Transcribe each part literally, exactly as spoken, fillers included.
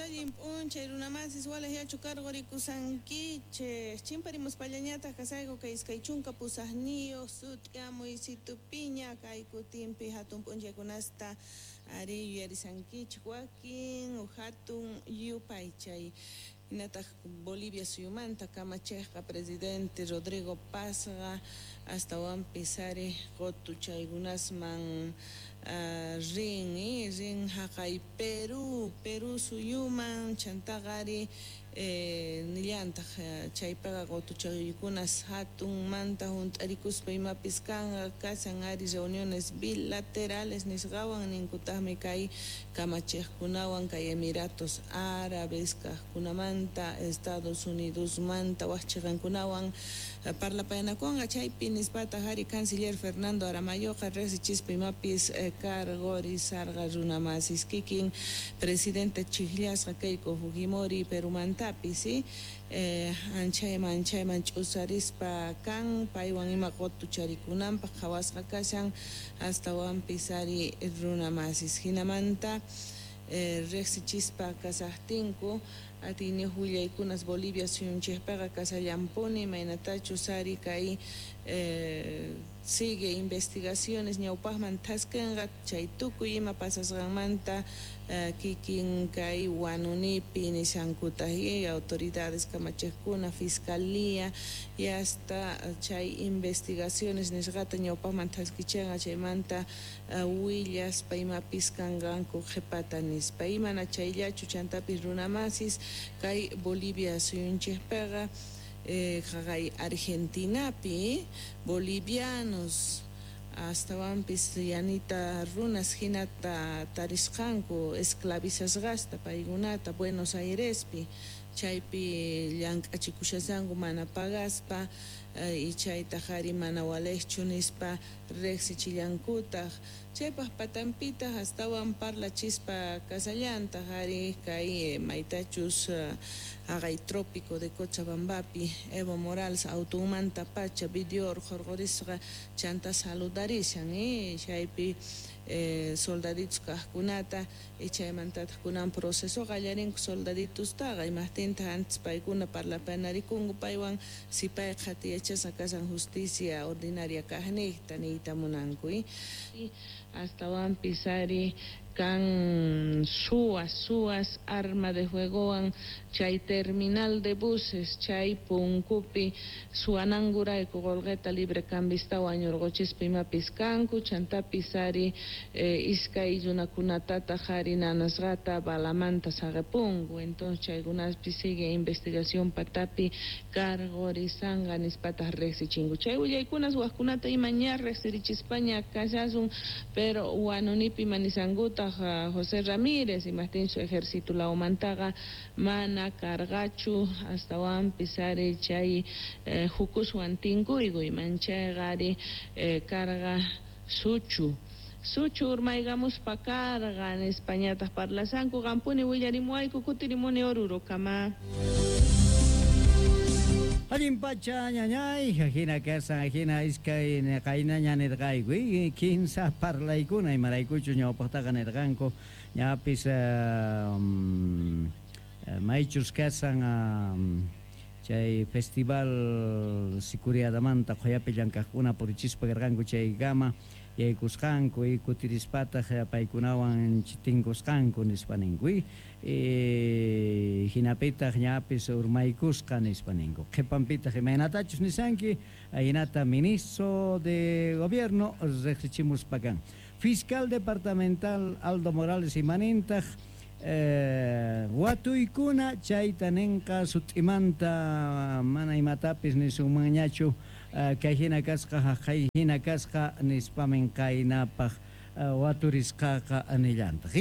Allin p'unchay runamasis walej yachu cargorikusankichej chimparimuspallañataq kasayku kay iskay chunka pusaqniyuq sut'iamuy situpiña kay kutinpi hatun p'unchaykunasta ari yuyarisankichej wakin hatun yupaychay hinataq Bolivia suyumanta kamachejqa presidente Rodrigo Pazqa astawanpis ari qutuchaykunasman uh, rin rin haqay Perú Perú suyuman chantaqa ari eh, nillantaq chaypiqa qutuchaykunas hatunmanta hunt'arikuspa imapis kanqa kasan ari reuniones bilaterales nisqawan ninkutaqmi kay kamachejkunawan kay Emiratos Árabes kaqkunamanta Estados Unidosmanta wak chiqankunawan parlapayanakunqa chaypi nispataq ari canciller Fernando Aramayoqa riqsichispa imapis eh, cargorisarqa runamasis kikin presidente chiqllasqa Keiko Fujimori Perumantapis ¿sí? eh, anchayman anchayman ch'usarispa kan paywan ima qutucharikunanpaq qhawasqa kashan astawanpis ari runamasis hinamanta eh, riqsichispa kasaqtinku atiyniyuq willaykunas Bolivia suyunchikpiqa kasallampuni imaynatachus ari kay eh, sigue investigaciones ñawpaqman thaskinqa chay tukuy ima pasasqanmanta eh, kikin kay Huanunipi nishankutaq y autoridades kamachejkuna fiscalía y hasta chay investigaciones nisqata ñawpaqman thaskichanqa chaymanta uh, willaspa imapis kanqanku qhipata nispa imana chayllachu chantapis runamasis kay Bolivia suyunchikpiqa eh, haqay Argentinapi bolivianos astawanpis yanita runas hinata tarisqanku esclavizasqasta paykunata Buenos Airespi chaypi llank'achikushasanku mana pagaspa eh, y chaytaq ari mana walejchu nispa riqsichillankutaq chaypaq patanpitaq astawan parlachispa kasallantaq ari kay maytachus haqay trópico de Cochabambapi Evo Morales autunmanta pacha video hurqurisqa chanta saludarishan eh, chaypi eh, soldaditos kaqkunata y chaymantataq kunan proceso qallarinku soldaditostaqa imaqtintaq antes paykuna parlapanarikunku paywan si pay qhatiyachasqa kasan justicia ordinaria kaqniqta niyta munanku y astawanpis ari kan suwas suwas arma de fuegowan chay terminal de buses chay punkupi suwanankurayku qullqita libre cambistawan ñurquchispa imapis kanku chantapis ari eh, iskay runakunatataq ari nanasqata balamanta saqipunku entonces chaykunapi sigue investigación patapi cargorisanqa nispataq riqsichinku chay willaykunas waqkunata ima ña riqsirichispaña kashasun pero Huanunipi manisankutaq José Ramírez imaqtinchu ejército lawmantaqa mana cargachu astawanpis ari chay eh, hukuswan tinkuyku imanchayqa ari eh, carga suchu suchu urmaykamuspa carga nispañataq parlasanku qampuni willarimuwayku kutirimuni Orurokama. Allin pacha ñañay, hina kasan hina iskay qaynaña nirqayku kinsa parlaykuna imaraykuchu ñawpaqtaqa nirqanku ñapis um, maychus kasan um, chay festival sicuriadamanta qhuyapi llank'aqkuna purichispa karqanku chaykama yaykusqanku y kutirispataq paykunawan tinkusqanku nispa ninku y hinapitaq ñapis urmaykusqa nispa ninku qhipanpitaq imaynatachus nisanki hinata ministro de gobierno riqsichimuspa kan fiscal departamental Aldo Morales imanintaq eh, watuykuna chayta ninqa sut'imanta mana imatapis nisunmanñachu Uh, kay hina kasqa haqay hina kasqa nispamin qaynapaq uh, waturisqaqa nillantaq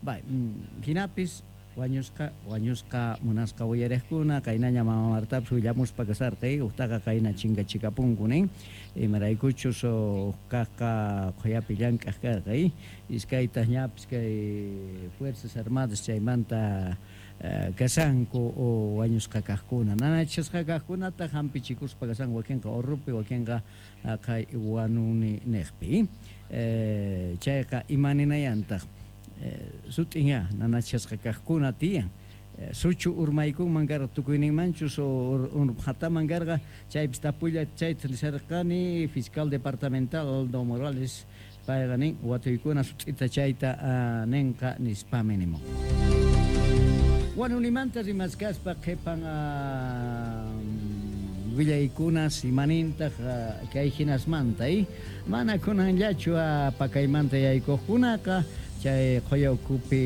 bay mm, hinapis wañusqa wañusqa munasqa uyariqkuna qaynaña mama Martapis willamuspa kasarqa uqtaqa qayna chinkachikapunku nin imaraykuchus uqkaqqa qhuyapi llank'aq karqa iskaytaq ñapis kay Fuerzas Armadas chaymanta Uh, kasanku o wañusqa kaqkuna nanachasqa kaqkunata hampichikuspa kasanku wakinqa Orrupi wakinqa qay Huanuni niqpi eh, chayqa imaninayantaq eh, sut'inya nanachasqa kaqkuna tiyan Suchu urmaykunman karqa tukuyninmanchus urqataman karqa chaypis tapulla chayta nisarqani fiscal departamental Aldo Morales payqa nin watuykuna sut'ita chayta ninqa nispami nimun. Wanunimanta rimaskaspa qhipan willaykunas imanintaq kay hinasmanta mana kunanllachu pakaymanta yaykuqkunaqa chay qhuya ukhupi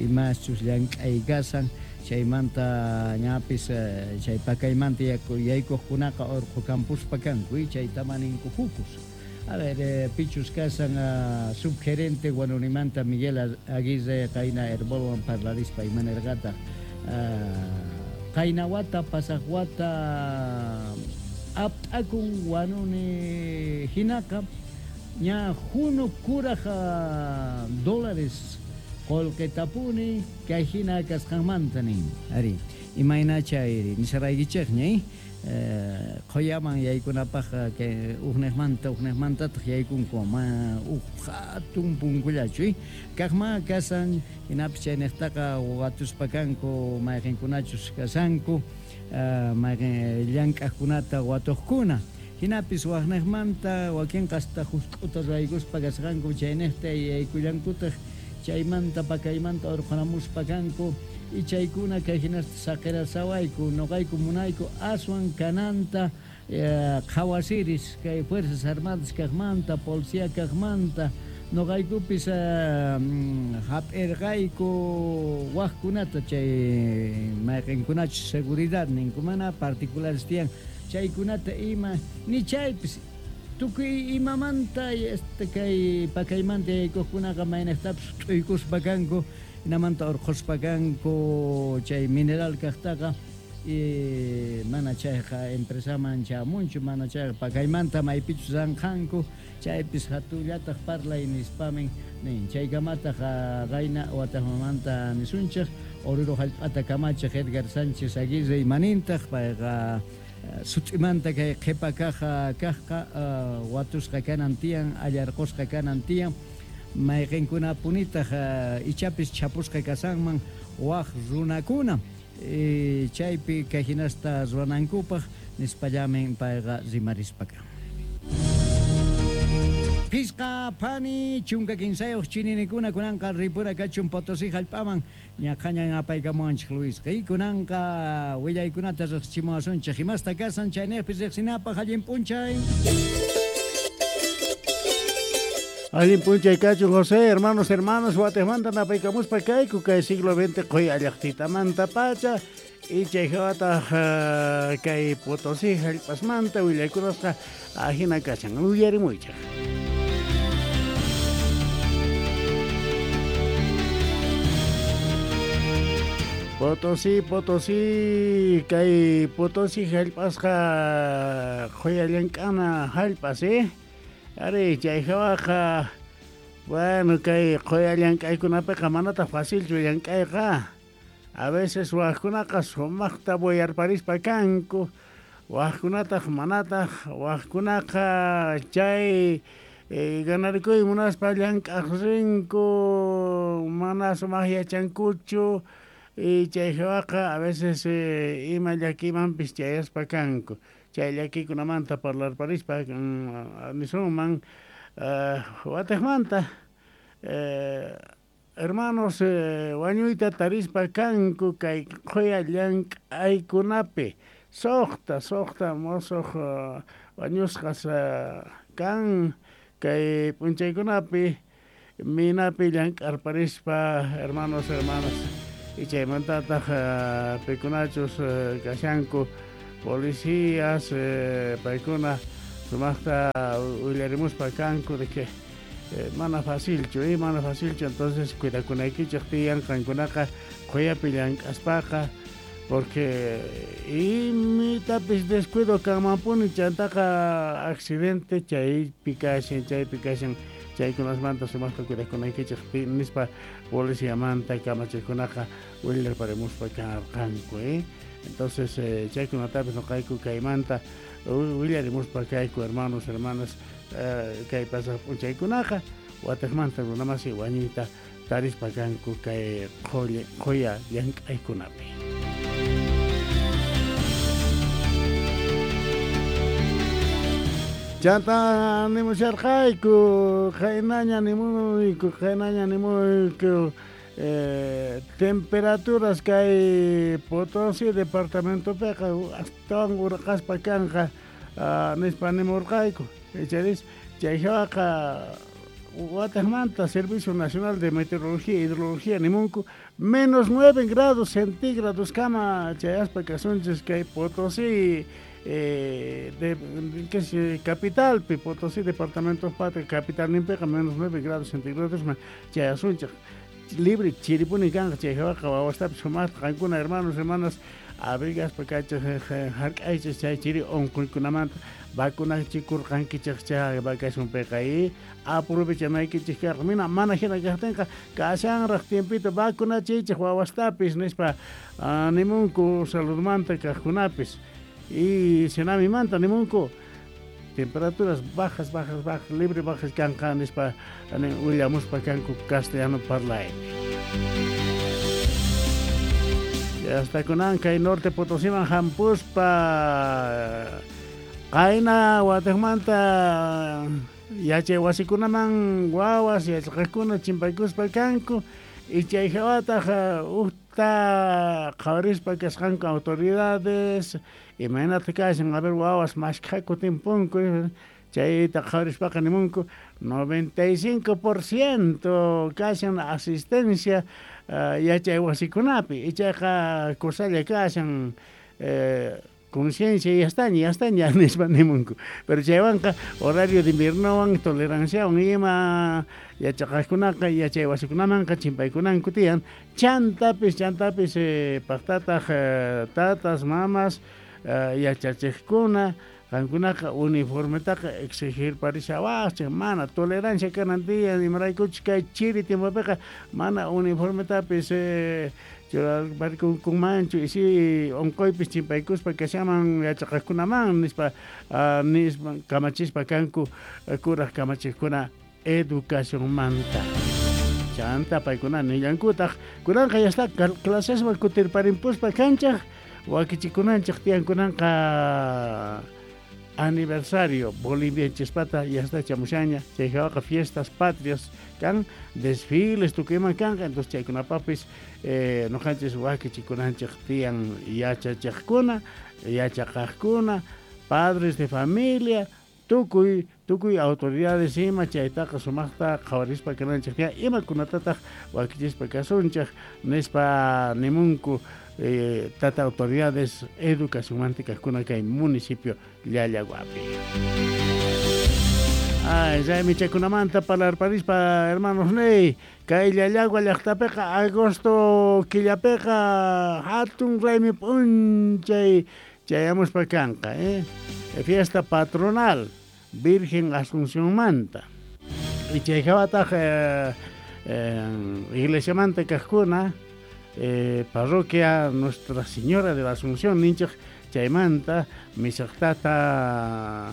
imaschus llank'ay kasan chaymanta ñapis chay pakaymanta yaykuqkunaqa urqu campuspa kanku chayta maninku jukus. A ver, eh, pichus kasan uh, subgerente Wanunimanta Miguel Aguirre qayna Herbolwan parlarispa imanirqataq uh, qayna wata pasaq wata ap'akun Wanuni hinaqa ña junu kuraj dólares qullqitapuni kay hina kasqanmanta nin ari imayna chayri nisaraykichikña qhuyaman yaykunapaq kay uqniqmanta uqniqmantataq yaykunku ma uq hatun punkullachu kaqma kasan hinapis chayniqtaqa watuspa kanku mayqinkunachus kasanku mayqin llank'aqkunata watuqkuna hinapis waqniqmanta wakinqa hasta husk'uta raykuspa kasqanku chayniqta yaykullankutaq chaymanta pakaymanta urqhunamuspa kanku y chaykuna kay hinasta saqirasawayku nuqayku munayku aswan kananta qhawasiris kay Fuerzas Armadas kaqmanta policía kaqmanta nuqaykupis hap'irqayku waqkunata chay mayqinkunachus seguridad ninku mana particulares tiyan chaykunata ima ni chaypis tukuy imamanta este kay pakaymanta yaykuqkunaqa mayniqtapis t'uykuspa kanku hinamanta urqhuspa kanku chay mineral kaqtaqa y mana chayqa empresaman chamunchu mana chayqa pakaymanta maypichus ranqanku chaypis hatullataq parlay nispamin nin chaykamataq qayna wataqmanta nisunchik Oruro hallp'ata kamachiq Edgar Sánchez Aguirre imanintaq payqa sut'imanta kay qhipa kaq kaqqa watusqa kanan tiyan allarqusqa kanan tiyan mayqinkunapunitaq ichapis chapusqa kasanman waq runakuna chaypi kay hinasta ruwanankupaq nispallamin payqa rimarispaka. Pisqa phani chunka kinsayuq chininikuna kunanqa ripura kachun Potosí hallp'aman ñaqhañan apaykamuwanchik Luisqa kunanqa willaykunata riqsichimuwasunchik imasta kasan chayniqpi riqsinapaq allin p'unchay. Allin p'unchay kachun José, hermanos, hermanas, watejmanta napaykamuspa kayku kay siglo veinte qhuya llaqtitamanta pacha y chayhawataq kay Potosí hallp'asmanta willaykunasqa ajina kashan uyarimuychaq. Potosí, Potosí, kay Potosí hallp'asqa qhuya llank'ana hallp'as, eh? Ari, chayhawaqa, bueno, kay qhuya llank'aykunapiqa manataq facilchu llank'ayqa. A veces waqkunaqa sumaqta boyarparispa kanku, waqkunataq manataq, waqkunaqa chay eh, ganarikuy munaspa llank'aq rinku, mana sumaq yachankuchu. Y chayhawaqa a veces eh, ima llakimanpis chayaspa kanku. Chay llakikunamanta parlarparispa nisunman uh, watejmanta eh, hermanos eh, wañuyta tarispa kanku kay qhuya llank'aykunapi suqta suqta mosuq uh, wañusqas uh, kan kay p'unchaykunapi minapi llank'arparispa hermanos hermanas. Y chaymantataq uh, pikunachus uh, kashanku policías eh, paykuna sumaqta willarimuspa kanku de que eh, mana facilchu eh, mana facilchu entonces cuidakunaykichik tiyan qankunaqa qhuyapi llank'aspaqa porque imitapis descuido kanmanpuni chantaqa accidente chaypi kashan chaypi kashan chaykunasmanta sumaqta cuidakunaykichik nispa policiamanta kamachiqkunaqa willarparimuspa karqanku eh. Entonces eh, chaykunatapis nuqayku kaymanta willarimuspa kayku hermanos hermanas eh, kay pasaq p'unchaykunaqa watejmanta runamasi wañuyta tarispa kanku kay qhuya llank'aykunapi. Chanta nimusharqayku, qaynaña nimuyku, qaynaña nimuyku, eh, temperaturas kay Potosí departamentopiqa astawan urqaspa kanqa uh, nispa nimurqayku. Icharis chayhawaqa wataqmanta Servicio Nacional de Meteorología e Hidrología nimunku menos nueve grados centígrados kama chayaspa kasunchis kay Potosí Eh, de, que es capital, Potosí, departamento Patria, capital nimpiqa menos nueve grados centígrados ma chayasunchik libre chiripuni kanqa chayhawaqa wawastapis sumaqta qankuna hermanos hermanas abrigaspa kachik hark'aychik chay chiri unquykunamanta vacunachikurqankichik chay vacacionpiqa y aprovechanaykichik karqa mina mana hina kaqtinqa kashanraq tiempito vacunachiychik wawastapis nispa nimunku saludmanta kaqkunapis. Y Senamimanta nimunku temperaturas bajas, bajas, bajas, libre bajas kanqa nispa willamuspa kanku castellano parlaypi. Hasta kunan kay norte Potosíman hampuspa qayna wataqmanta yachay wasikunaman wawas yachaqakuna chimpaykuspa kanku y chay hawataq uqta qhawarispa kasqanku autoridades imaynata kashan a ver wawas mashkhaku timpunku chayta qhawarispaqa nimunku noventa y cinco por ciento kashan asistencia uh, yachay wasikunapi ichaqa kusalla kashan eh, conciencia y ya ya ya nispa nimunku pero chaywanqa horario de inviernowan toleranciawan ima yachaqaqkunaqa yachay wasikunamanqa chimpaykunanku tiyan chantapis chantapis eh, paqtataq eh, tatas mamas eh, yachachiqkuna qankunaqa uniformetaqa exigir parishawaqchik mana tolerancia kanan tiyan imaraykuchik kay chiri tiempopiqa mana uniformetapis eh, churarparikunmanchu y si unquypis chimpaykuspa kashaman yachaqaqkunaman nispa uh, nispa kamachispa kanku kuraq kamachiqkuna educacionmanta. Chanta paykuna nillankutaq kunanqa ya está clasesman kutirparimpuspa kanchaq wakichikunanchik tiyan kunanqa aniversario bolivianchispata ya está chamushaña chayhawaqa fiestas patrias kan desfiles tukuyman kanqa entonces chaykunapapis eh, noqanchis wakichikunanchik tiyan yachachiqkuna yachaqaqkuna padres de familia tukuy tukuy autoridades ima chaytaqa sumaqta qhawarispa kananchik tiyan imakunatataq wakichispa kasunchik nispa nimunku eh, tata autoridades educacionmanta kaqkuna kay municipio Llallaguapi. Ay, raymichakunamanta parlarparispa hermanos ney kay Llallagua llaqtapiqa agosto killapiqa hatun raymi p'unchay chayamuspa kanqa eh fiesta patronal Virgen Asunciónmanta y chayhawataq eh, eh, iglesiamanta kaqkuna eh, parroquia Nuestra Señora de la Asunción ninchik chaymanta misaqtata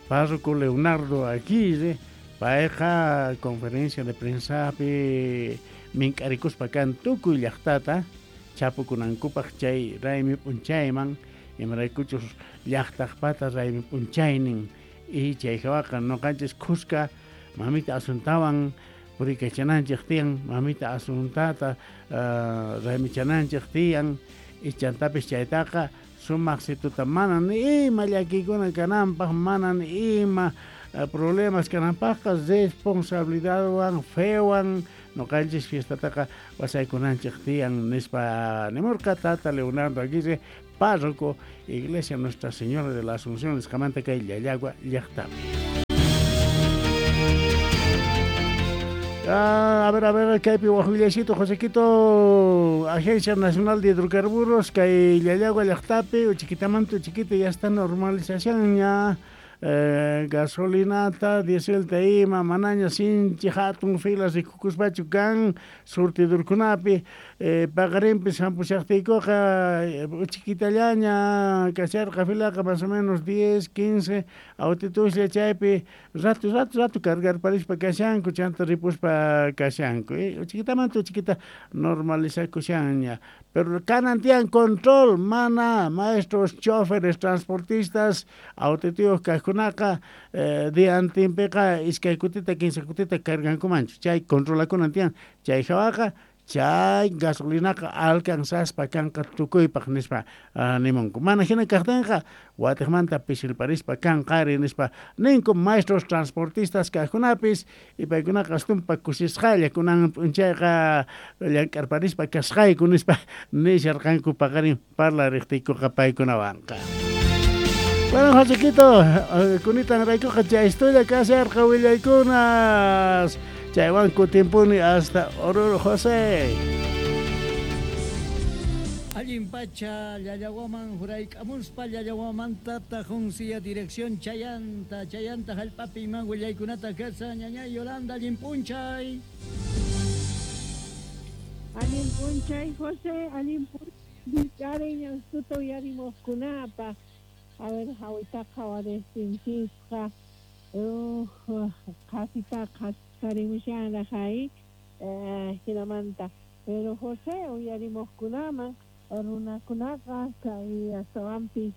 párroco Leonardo Aguirre payqa conferencia de prensapi mink'arikuspa kan tukuy llaqtata chapukunankupaq chay raymi p'unchayman imaraykuchus llaqtaqpata raymi p'unchaynin y chayhawaqa noqanchis khuska mamita Asuntawan purikachananchik tiyan mamita Asuntata uh, raymichananchik tiyan y chantapis chaytaqa sumaq situta mana ni ima llakiykuna kananpaq mana ni ima uh, problemas kananpaqqa responsabilidadwan fewan noqanchis fiestataqa wasaykunanchik tiyan nispa nimurqa tata Leonardo Aguirre párroco Iglesia Nuestra Señora de la Asunción nisqamanta kay Llallagua llaqtapi. Ah, a ver, a ver, kaypi wajwillaycito Josequito, Agencia Nacional de Hidrocarburos, kay Llallagua llaqtapi, uchiquitamanta uchiquita ya está normalización ya, eh, gasolinata, dieselta ima, manaña sinchi hatun filas rikukuspachu kan surtidurkunapi, eh, paqarinpis hampushaqtiykuqa uchikitallaña kasharqa filaqa más o menos diez, quince autituslla chaypi rato rato rato cargarparispa kashanku chanta ripuspa kashanku eh, uchikitamanta uchikita normalizakushanña pero kanan tiyan control mana maestros, choferes, transportistas autituyuq kaqkunaqa eh, diantinpiqa iskay kutita kinsa kutita cargankumanchu chay controlakunan tiyan chay hawaqa chay gasolinaqa alcanzaspa kanqa tukuypaq nispa uh, nimunku mana hina kaqtinqa watiqmanta pishilparispa kanqari nispa ninku maestros transportistas kaqkunapis y paykunaqa astumpa kusisqalla kunan p'unchayqa llank'arparispa kasqayku nispa nisharqanku paqarin parlariqtiykuqa paykunawanqa. Bueno, Josequito, kunitan raykuqa chaystulla kasharqa willaykunas. Chaywan kutimpuni hasta Oruro, José. Allin pacha, Llallawaman hurayk'amuspa Llallawamantata junsiya dirección Chayanta, Chayanta hallp'api iman willaykunata kasa ñañay Yolanda, allin p'unchay. Allin p'unchay, José, allin p'unchay, ñansuta uyarimuqkunapaq. A ver, hawitaqa qhawaristinchikqa, uh, qhasitaqa qhasqarimushanraq hay, eh, hinamanta. Pero José, uyarimuqkunaman runakunaqa kay astawanpis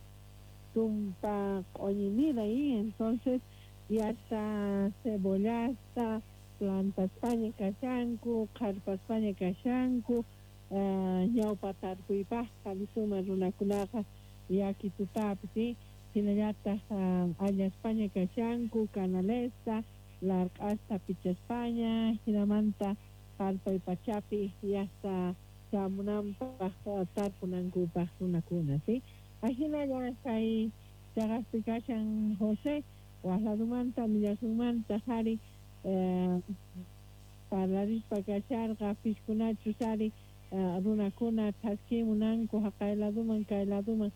tumpa q'uñinira y entonces ya está cebollasta, plantaspaña kashanku, qharpaspaña kashanku, uh, ñawpa tarpuypaqqa nisuma runakunaqa yakitutapis, ¿sí? Hinallataq uh, allaspaña kashanku, canalesta, larq'asta pichaspaña, hinamanta qarpay pachapi yasta chamunanpaq tarpunankupaq runakuna, ¿sí? Ahinalla kay chaqaspi kashan José, waq ladumanta millasunmanta qhari eh, parlarispa kasharqa piskunachus ari uh, runakuna thaskimunanku haqay laduman kay laduman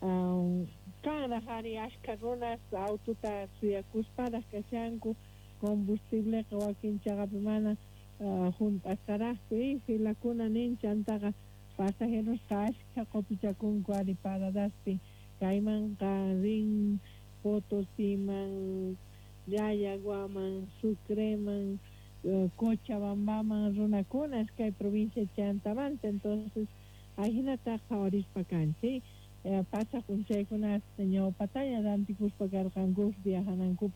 uh, kanraq ari ashka runas aututa suyakusparaq kashanku combustibleqa wakin chaqapi mana uh, hunt'asqaraqchu y filakuna nin chantaqa pasajerosqa ashka qupichakunku ari paradaspi kaymanqa rin Potosiman, Llallaguaman, Sucreman, uh, Cochabambaman runakunas kay provincia Chantamanta. Entonces ahinata qhawarispa kanchik eh, pasaq p'unchaykunas ñawpataña rantikuspa karqanku viajanankupaq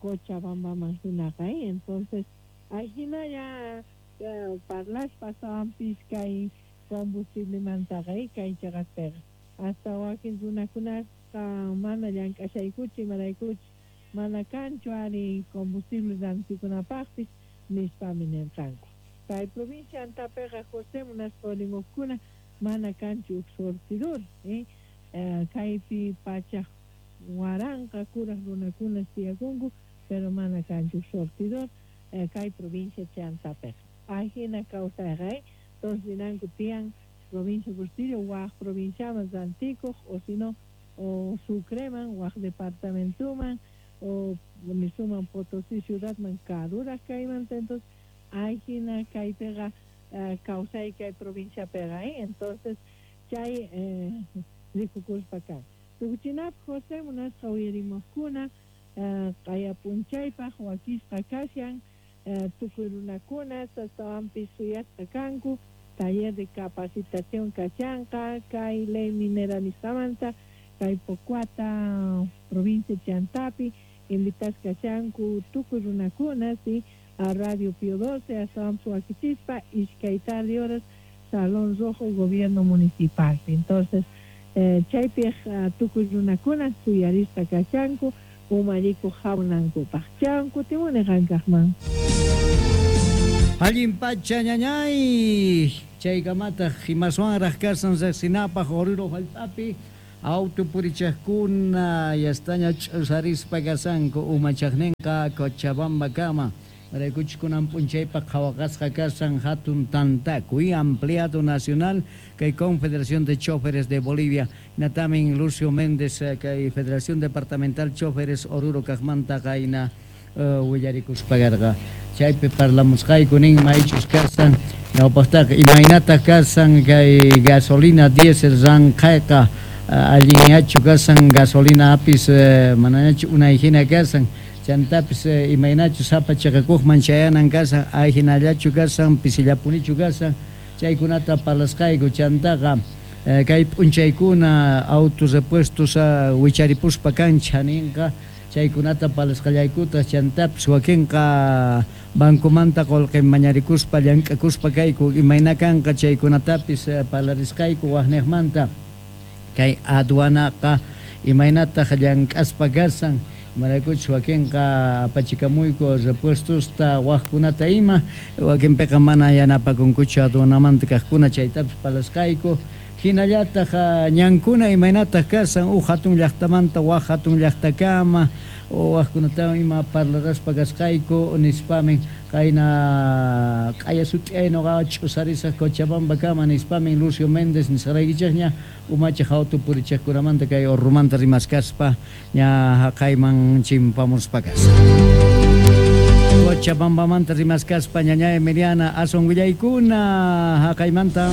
Cochabambaman hinaqa eh? Entonces ahinalla eh, parlaspa astawanpis kay combustiblemantaqa eh, kay chaqaspiqa hasta wakin runakunasqa mana llank'ashaykuchu imaraykuchu mana kanchu ari combustible rantikunapaqpis nispami nirqanku. Kay provincia Antapiqa José munaspa ulimuqkuna mana kanchu huk surtidor eh? Eh, kaypi pachaq waranqa kuraq runakuna tiyakunku pero mana kanchu surtidor eh, kay provincia Chantapiqa. Ahina kawsayqa eh? Entonces rinanku tiyan provincia Bustillo waq provinciaman rantikuq o sino o Sucreman waq departamentuman o nisuman Potosí ciudadman karuraq kaymanta. Entonces ahina kaypiqa uh, kawsay kay provinciapiqa eh? Entonces chay eh, rikukuspa kan. Tukuchinapaq José munasqa uyarimuqkuna uh, qaya p'unchaypaq wakisqa kashan uh, tukuy runakuna astawanpis suyasqa kanku taller de capacitación kashanqa kay ley minera nisqamanta kay Pocuata provincia Chantapi invitasqa kashanku tukuy runakuna ¿sí? A Radio Pío doce astawanpis wakichispa iskay tarde horas Salón Rojo Gobierno Municipal. Entonces eh, chaypiq uh, tukuy runakuna suyarisqa kashanku umalliku hamunankupaq. Chan kutimuni qankaqman. Allin pacha ñañay chaykamataq imaswanraq kasan riqsinapaq Oruro hallp'api auto purichaqkuna yastaña ch'usarispa kasanku umachaqninqa Cochabambakama maraykuchus kunan p'unchaypaq qhawaqasqa kasan hatun tantakuy ampliado nacional kay Confederación de Choferes de Bolivia natamin Lucio Méndez kay Federación Departamental Choferes Oruro kaqmanta qayna uh, willarikuspa karqa chaypi parlamusqayku nin maychus kasan Ñawpaqtaqa imaynataq kasan kay gasolina diésel ranqhayqa, allinñachu kasan gasolina apis, manañachu unay hina kasan, chantapis imaynachu sapa chiqakuqman chayanan kasan, ahinallachu kasan, pisillapunichu kasan, chaykunata parlasqayku. Chantaqa kay p'unchaykuna auto repuestos wicharipuspa kan chhaninqa, chaykunata parlasqallaykutaq. Chantapis wakinqa bancomanta qullqi mañarikuspa llank'akuspa kayku, imayna kanqa chaykunatapis parlarisqayku. Waqniqmanta kay aduanaqa imaynataq llank'aspa kasan, imaraykuchus wakinqa apachikamuyku repuestosta waqkunata ima, wakinpiqa mana yanapakunkuchu aduanamanta kaqkuna, chaytapis parlasqayku. Hinallataq ñankuna imaynataq kasan huk hatun llaqtamanta waq hatun llaqtakama, waqkunatawan ima parlaraspa kasqayku nispamin qayna q'aya sut'iyay nuqa ch'usarisaq Cochabambakama nispamin Lucio Méndez nisqaraykichikña umachiq auto purichiqkunamanta kay Orromanta rimaskaspa ña haqayman chimpamuspa kasqa. Cochabambamanta rimaskaspa ñañay Emiliana aswan willaykuna haqaymanta.